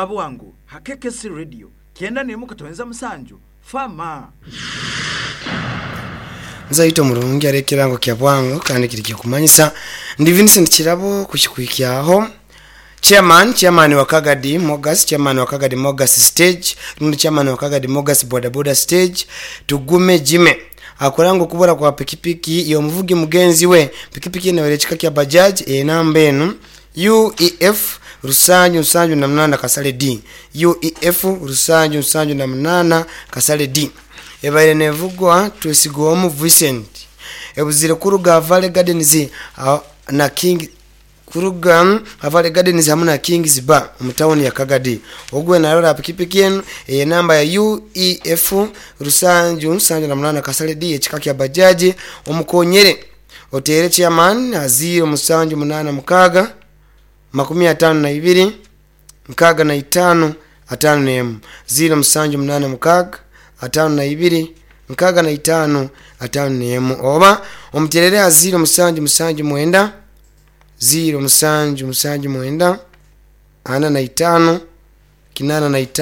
Kyabwangu ha KKC Radio 91.7 Fama. Nzaito murungi ari ekirango kya bwangu kandi kiri kyokumanyisa. Ndi Vincent Kirabo kuhikyaho Chairman, Chairman wa Kagadi Mogas, Chairman wa Kagadi Mogas Stage, rundi Chairman wa Kagadi Mogas Boda Boda Stage, Tugume Jime akuranga okubura kwa pikipiki y'omuvugi mugenzi we. Pikipiki eno eri ekika kya Bajaj enamba enu UEF rusanju nsanju na munana kasale D, UEF rusanju nsanju na munana kasale D, ebaire nevugwa Twesigwomu Vincent, ebuzire kuruga Valley Gardens na King kuruga Valley Gardens hamu na Kings Bar omu tawuni ya Kagadi. Ogwo narora pikipiki enu eyenamba ya UEF rusanju nsanju na munana kasale D ekika kya Bajaj, omukonyere otere chairman ha 0 musanju munana mukaga 52 65 51, 0 musanju munana mukaga 52 65 51, oba omuterere ha 0 musanju musanju mwenda 0 musanju musanju mwenda 45 85.